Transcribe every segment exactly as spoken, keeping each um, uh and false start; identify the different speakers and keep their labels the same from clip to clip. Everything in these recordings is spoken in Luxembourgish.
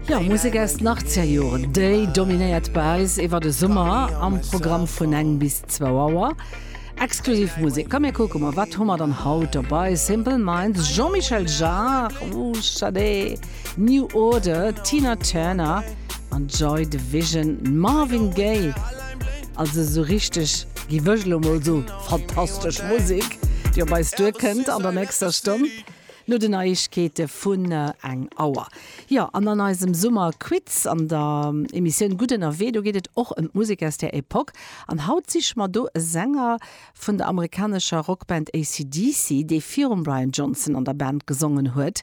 Speaker 1: Jo, Musek aus den achtzeger Joren, déi dominéiert bei eis iwwer de Summer am Programm vun eng bis zwou Auer. Exklusiv Musek. Komm mir kucke mol, wat hu mer dann haut dobei? Simple Minds, Jean-Michel Jarre, ooh, Sade, New Order, Tina Turner an Joy Division, Marvin Gaye. Also sou richteg, giff ech lo mol soen, fantastesch Musek, déi op eis duerkënnt an der nächster Stonn. No den Neiegkeete vun eng Auer. Jo, an an eisem Summerquiz an der Emissioun Gutt ënnerwee, do geet et och ëm d'Musek aus där Epoch. An haut siche mer do e Sänger vun der amerikanescher Rockband A C D C, dee virum Brian Johnson an der Band gesongen huet.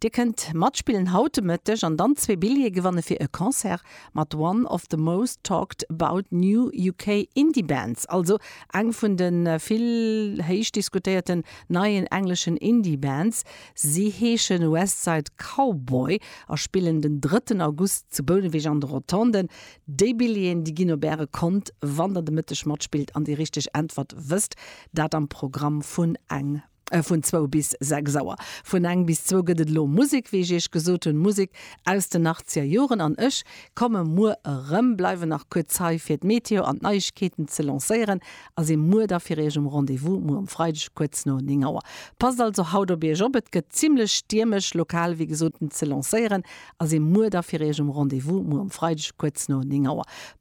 Speaker 1: Dir kënnt matspillen haut de Mëtteg an dann zwee Billjeeë gewanne fir e Concert mat one of the most talked about new U K Indie Bands, also eng vun de vill héich diskutéierten neien engleschen Indie Bands. Si heeschen Westside Cowboy a spillen den drëtten August zu Bouneweg an de Rotonden. Déi Billjeeën, déi ginn op äre Kont, wann der de Mëtteg matspillt an déi richteg Äntwert wësst, dat am Programm vun eng äh, vun zwou bis sechs Auer. Vun eng bis zwou gëtt et lo Musek, wéi ech iech gesot hunn, Musek aus den achtzeger Joren an ech komme muer erëm, bleiwen nach kuerz hei fir d'Meteo an d'Neiegkeeten ze lancéieren a si muer da fir iech um Rendez-vous, muer um Freideg kuerz no néng Auer. Passt also haut op iech op, et gëtt zimmlech stiermesch, lokal wéi gesot ze lancéieren a si muer da fir iech um Rendez-vous, muer um Freideg kuerz no néng Auer.